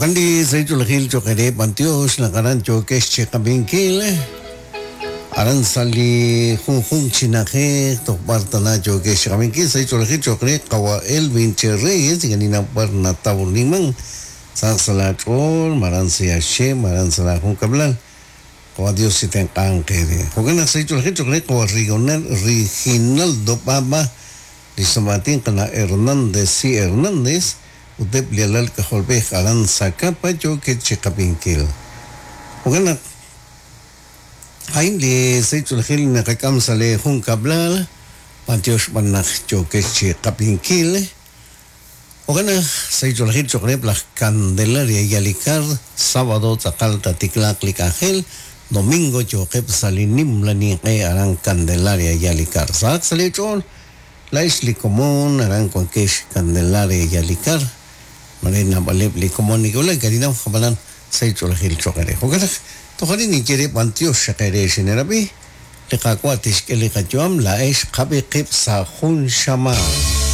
Jo'kan li sahil ch'oolejil cho'q eere b'antiox naq aran yookex chi qab'inkil, aran sa' li junjunq chi na'ajej toj b'ar tana yookex chi qab'inkil. Sahil ch'oolejil cho'q re qawa' Elvin Che Reyes, ink'a' ninnaw b'ar natawliman, sahaq sa' laach'ool, ma aran sa' Yaxche, ma aran sa' laajunkab'lal. Qawa' Dios chitenq'anq eere. Jo'kan naq sahil ch'oolejil cho'q re qawa' Riginaldo B'ab'a, li xsum'aatin qana' Hernández Si Hernández, ut eb' li alal k'ajolb'ej aran Zacapa yookeb' chi qab'inkil. Jo'kan naq, a'in li sahil ch'oolejil li naqak'am sa' lee junkab'lal, b'antiox b'an naq yookex chi qab'inkil. Jo'kan naq, sahil ch'oolejil cho'q reheb' laj Candelaria Yalikar, sábado tz'aqal taatiklaaq li k'anjel, domingo yooqeb' sa' li nimla ninq'e aran Candelaria Yalikar. Sahaq sa' lee ch'ool! Laa'ex li komon aran wankex Candelaria Yalikar, mare naab'aleb' li komon neke'wulak Garinaw, ab'anan sahil ch'oolejil cho'q eere. Jo'kan naq toj arin ninye re b'antiox xaq eere xineerab'i, li Qaawa' tixk'e li qayu'am, laa'ex qab'i qib' sa' jun xamaan.